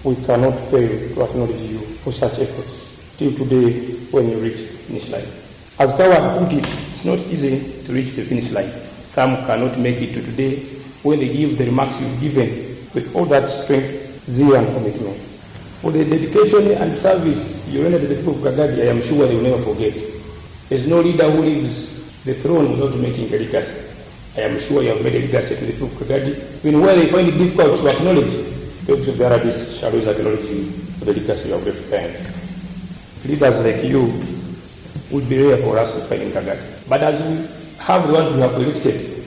We cannot fail to acknowledge you for such efforts till today when you reach the finish line. As Coward put it, it's not easy to reach the finish line. Some cannot make it to today when they give the remarks you've given with all that strength, zeal and commitment. For the dedication and service you rendered to the people of Kagadi, I am sure they will never forget. There's no leader who leaves the throne without making a legacy. I am sure you have made a legacy to the people of Kagadi. Even where they find it difficult to acknowledge, the office of the RDC shall always acknowledge you for the legacy you have left behind. Leaders like you would be rare for us to find in Kagadi. But as we have the ones we have elected,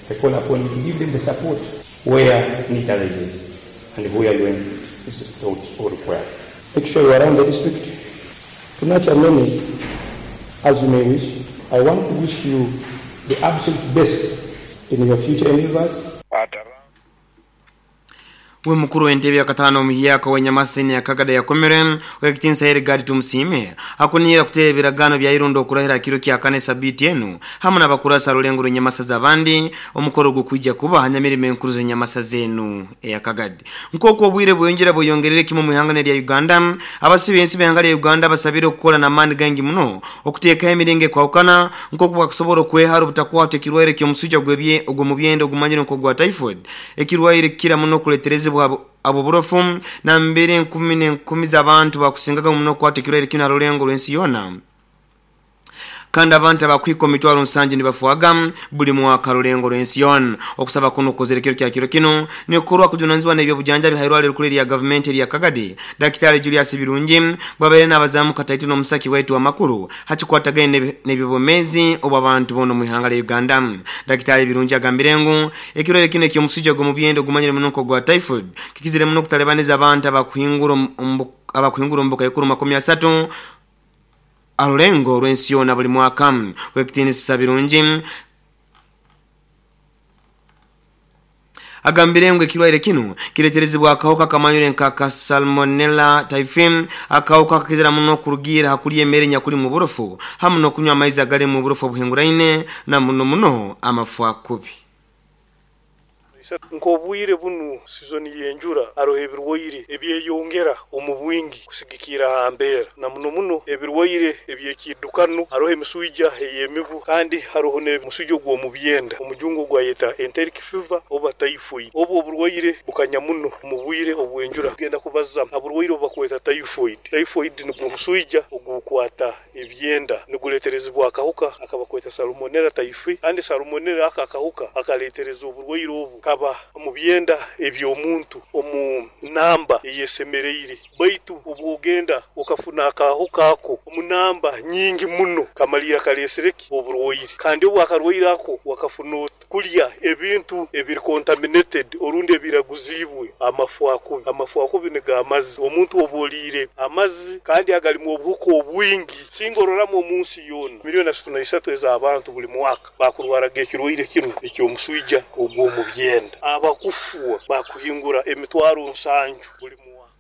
I call upon you to give them the support where need arises and where your input is thought or required. Make sure you are around the district to nurture many as you may wish. I want to wish you the absolute best in your future endeavors. We mukuru w'entebe yakataano omuhyaka ow'enyamasa eni yakagada yakomere ow'ekitinisa Edgar Tumusiime akunihira kuteera ebiragaano bya Irundo okurahira kiro kyakana esabiiti enu hamu n'abakurasa rulengo rw'enyamasa z'abandi omukoro gukwija kuba hanyamirimo enkuru z'enyamasa zenu eyakagadi nk'oku obwire bweyongera bweyongerere kimu mu ihanga lya Uganda abasibe ensi b'ihanga lya Uganda basabire okukola n'amaani gangi muno okuteekaho emiringo ekwahukana nk'oku bakusobola okwehara obutakwata ekirwaire ky'omusujja ogw'omu byenda ogumanyire nk'ogwa typhoid ekirwaire kikira muno okuleeterezebwa abo burofu na mbere enkumi n'enkumi z'abantu bakusingaga muno okukwata ekirwaire kino aha rulengo rw'ensi yoona kandi abantu abakwika omitwaro nsanju nibafuaga buli mwaka rulengo rw'ensi yoona. Okusaba kuno kukozere kiro kya kiro kino nikorwa kujunanizibwa n'ebyobujanjabi hairwaliro rikuru erya gavumenti erya Kagadi Daktari Julius Birungi bwabaire n'abazamu kataito n'omusaki waitu w'amakuru hakikwatagaine n'ebyobwomeezi obw'abantu boona omu ihanga lya Uganda. Daktari Birungi agambire ngu ekirwaire kino eky'omusujja gw'omu byenda ogumanyire muno nk'ogwa typhoid kikizire muno okutalibaniza abantu abakuhingura omu bukaikuru 30 arulengo rw'ensi yoona buli mwaka. W'ekitinisa Birungi agambire ngu ekirwaire kino kireterezibwa akahuka kamanyire nka ka Salmonella typhi, akahuka kakizira muno kurugira hakulya emere nyakuli mu burofu hamu n'okunywa amaizi agali mu burofu obuhinguraine na muno muno amafu akubi. Nk'obwire bunu sizoni y'enjura haroho ebirwaire ebyeyongera omu bwingi kusigikira ha mbeera, na muno muno ebirwaire eby'ekiidukano. Haroho emiswija ey'emibu kandi haroho n'omuswija ogw'omu byenda, omujungu ogwayeta enteric fever oba typhoid. Obu oburwaire bukanya muno omu bwire obw'enjura. Tugenda kubaza ha burwaire obu bakweta typhoid. Typhoid nugwo omuswija ogukwata ebyenda, niguleeterezibwa akahuka akabakweta Salmonella typhi, kandi Salmonella aka akahuka akaleetereza oburwaire obu kaba omu byenda eby'omuntu omu namba eyesemereire, baitu obwogenda okafuna akahuka ako omu namba nyingi muno kamalira kaleesire ki oburwaire. Kandi obu akarwaire ako wakafuna ota? Kulya ebintu ebiri contaminated orundi ebiraguziibwe amafu akubi. Amafu akubi nigo amazzi. Omuntu obu oliire amazzi kandi agalimu obuhuka obwingi, singa ororamu omu nsi yoona 33 million ez'abantu buli mwaka bakurwaraga ekirwaire kinu eky'omuswija ogw'omu byenda, abakufwa bakuhingura 70,000 buli mwaka.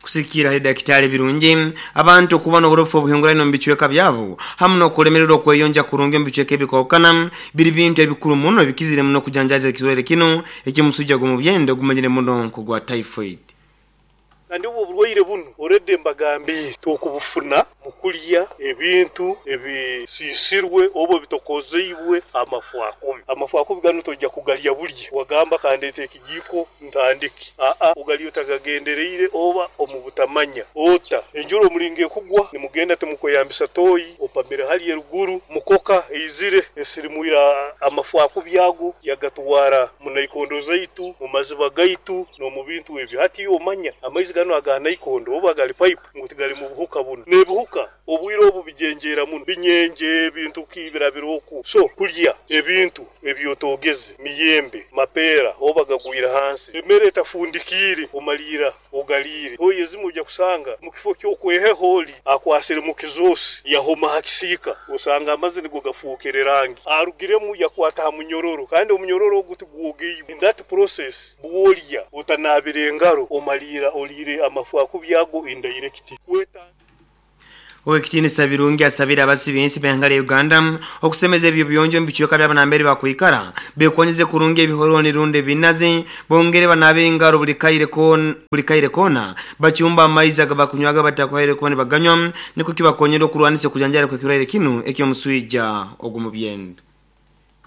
Kusikira hali Daktari Birungi, abantu okuba n'oburofu obuhinguraine omu bicweka byabo hamu n'okulemererwa okweyonja kurungi omu bicweka ebikwahukana biri bintu ebikuru muno ebikizire muno kujanjaza ekirwaire kino eky'omusujja gw'omu byenda ogumanyire muno nk'ogwa typhoid. Kandi obu oburwaire bunu already mbagambiire tokubufuna mu kulya ebintu ebisiisirwe oba ebitokozeibwe amafu akubi. Amafu akubi ganu tojja kugalya bulya wagamba kandeete ekijiiko ntandike. Aa ogalya otagagendereire oba omu butamanya. Ota enjura omulingo ekugwa nimugenda timukweyambisa toyi, opamire hali eruguru mukoka eizire esirimwire amafu akubi ago yagatwara mu naikondo zaitu, mu maziba gaitu n'omu bintu ebyo. Hati iwe omanya amaizi ganu aga naikondo oba gali pipe ngu tigalimu buhuka bunu. N'ebihuka obwire obu bijenjeera muno, binyenje ebintu ki birabira oku. So kulya ebintu ebyotogeze, miyembe, mapeera oba gagwire hansi, emere etafundikiire omaliira ogaliire. Toyi ezimu ojja kusanga mu kifo ky'okweheho oli akwasire mu kizoosi yahoma ha kisiika, osanga amaizi nigo gafuukire rangi. Arugiremu yakwata ha munyororo kandi omunyororo ogu tigwogeibwe. In that process bw'olya otanaabire engaro omaliira oliire amafu akubi ago indirect. Owekitinisa Birungi asabira abasibi b'ehanga lya Uganda okusemeza ebyo byonjo mubicweka by'abanambere bakwikara bekonyeze kurungi ebihoroni rundi ebinazi bongere banabe engaro buli kaire kona bachumba amaizi agabakunywaga batakwaire kona baganywa niko kibakonyera okurwanisa kujanjara kwekirwaire kinu ekyomuswija ogumubyenda.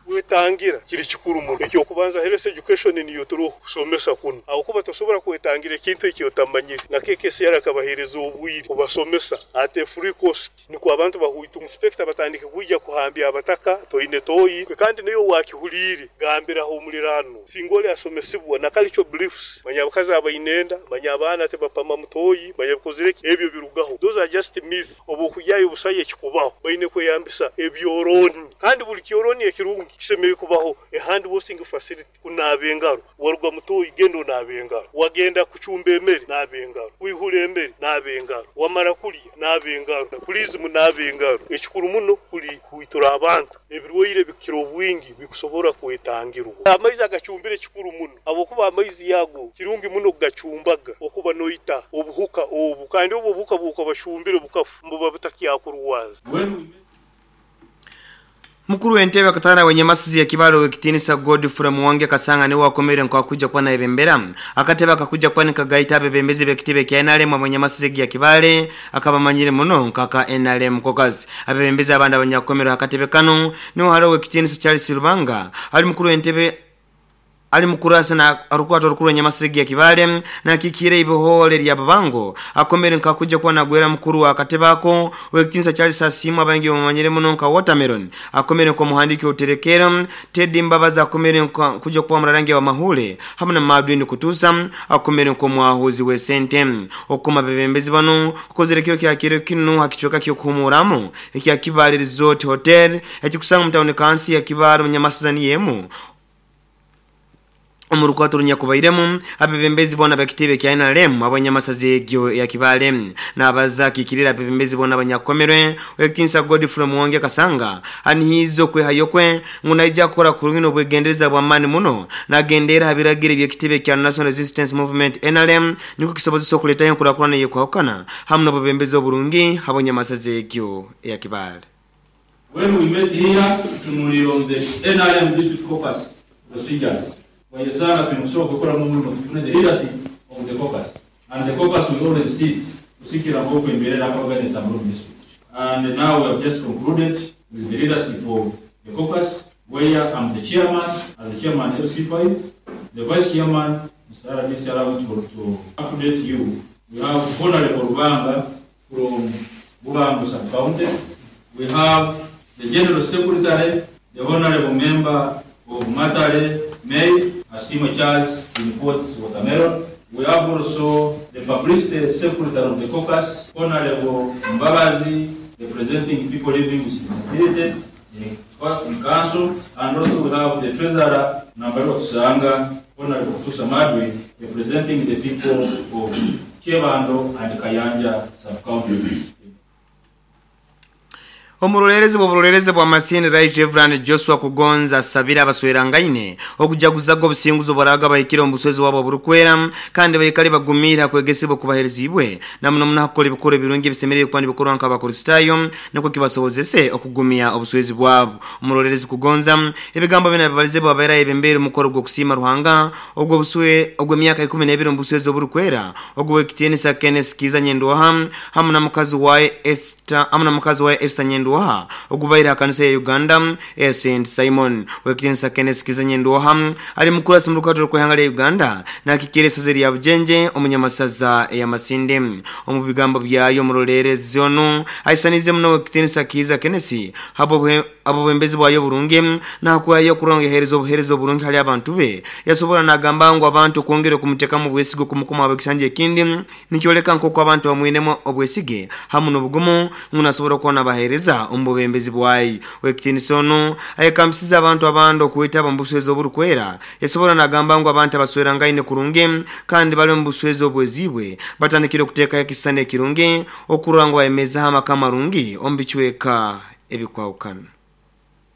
Wetangira kiri kikuru muno ekyokubanza health education niyo turi kusomesa kuno aho tosobora kwetangira ekintu ekyotamanyire na KKCR akabahereza obwire kubasomesa at a free cost niko abantu bahuitu inspector batandike kuija kuhambya abataka toine toyi kandi niyo wakihulire gambiraho omulirano singoli asomesibwa na cultural beliefs manya abakazi abainenda manya abaana tebapama mutoyi manya bikozire ebyo birugaho. Those are just myths obukujayo busaye ekikubaho baine kweyambisa ebyoroni kandi buli kyoroni ekirungi kisemere kubaho a hand washing facility kunaaba engaro waruga mutoyi genda onaaba engaro wagenda kuchumba emere naaba engaro wihula emere naaba engaro wamara kulya naaba engaro please munaaba engaro. Ekikuru muno kuli kuitura abantu ebirwaire bikira obwingi bikusobora kwetangirwa. Amaizi agachumbire kikuru muno abokuba amaizi yago kirungi muno gachumbaga okuba noita obuhuka obu kandi obu obuhuka bukabashumbire bukafu mbuba butakyakurwaza. Mukuru w'entebe akatana wenyamasizi ya Kibale wekitinisa Godfrey Muwange Kasanga niwe wakomere nkakuja kwa naebembera akatebe akakuja kwa nikagaita abebembezi bekitebe kya NRM abanyamasizi ya Kibale akabamanyire muno nkaka NRM kokazi abebembezi abandi abanyakomero akatebe kano niwe halo wekitinisa Charles Rubanga ali mukuru w'entebe ali mukurasa na arukwato rukuru nyamasigi ya Kibale na kikire ibohole lya babango akomere nkakuja kwa nagwera mukuru wa katebako wekitinsa Charles Asimu abangi omanyire muno nka Watermelon akomere kwa muhandiki uterekera Teddy Mbabaza akomere kuja kwa mrarangi wa mahule hamwe na Madwin Kutusa akomere kwa mwahuzi we sente okuma bebembezi bano kukozere kiro kya kiro kinu hakichweka kyo kuhumuramo ekya Kibale Resort Hotel ekikusanga mutaone kansi ya Kibale munyamasazani yemu omurukwato runyakubairemu abebembezi bona bakitebe kya NRM abanyamasazi egyo ya Kibale nabaza kikirira abebembezi bona abanyakomerwe wekitinsa Godfrey Muwange Kasanga anihizo kwehayo kwe ngunaija kukora kurungi n'obwegendereza bwa mani muno nagendera habiragire byekitebe kya National Resistance Movement NRM niko kisobozesa okuletayo enkurakurana yekwahukana hamwe n'obubembezi oburungi abanyamasazi egyo ya Kibale. When we met here tunulira on the NRM district caucus procedures Wayesana tumusoko kukora mu tufune the leadership of the caucus and the caucus we always sit kusikira ngoko imbere na organize abroad district and now we have just concluded with the leadership of the caucus where I'm the chairman as the chairman LC5 the vice chairman Mr. RDC allowed to update you. We have Honorable Rubanga from Bubango sub-county. We have the general secretary, the honorable member of Matale May Asimo Charles imports watermelon. We have also the publicity secretary of the caucus, Honorable Mbabazi, representing people living with disability in council, and also we have the treasurer, Nambaro Tusanga, Honorable Kutusa Madwe, representing the people of Chebando and Kayanja sub-county. Omurorerezi bw'oburorerezi bwa Masini Right Reverend Joshua Kugonza sabira abaswerangaine okujaguzago obusinguzo baraga bahikire omuswezi wabo burukwera kandi bayikali bagumira kwegesebwa kubaherezibwe namuno munakola ebikoro ebirungi ebisemerere kwandi bikorwa nk'abakristayo niko kibasobozese okugumya obuswezi bwabo. Omurorerezi Kugonza ebigambo bina bibalize bwabaira ebembere mukoro gw'okusiima Ruhanga ogwo buswe ogwo myaka 12 omuswezi oburukwera ogwo ekitiinisa Kenneth Kiza Nyendoha hamwe na mukazi wa Esther hamwe na mukazi wa Esther Nyendoha ogubaira kanisa ya Uganda Saint Simon wekitinisa Kenneth Kiza Nyendoha ali mukuru asimrukato kwehanga ya Uganda na kikere sozeri ya Bujenje omunyamasaza ya Masinde omu bigambo byayo murorerezi ono aisanize muno wekitinisa Kiza Kenneth habo abo bembezi bwayo burungi na kwayo kurongehereza obuhereza oburungi hali abantu be yasobora nagamba ngo abantu kwongera kumuteka mu bwesigo kumukoma abekisanje ekindi nikyoleka nkoko abantu bamwinemo obwesige hamu n'obugumu ngunasobora kuona bahereza omubembezi bwayi wekitinisa ono ayekambisiza abantu abandi okuweta bambuswezo oburukwera yasobora nagamba ngo abantu abaswerangaine kurungi kandi bali mu buswezo obwezibwe batandikire okuteeka ekisane ekirungi okurangwa emeza hamaka marungi ombichweka ebikwawukana.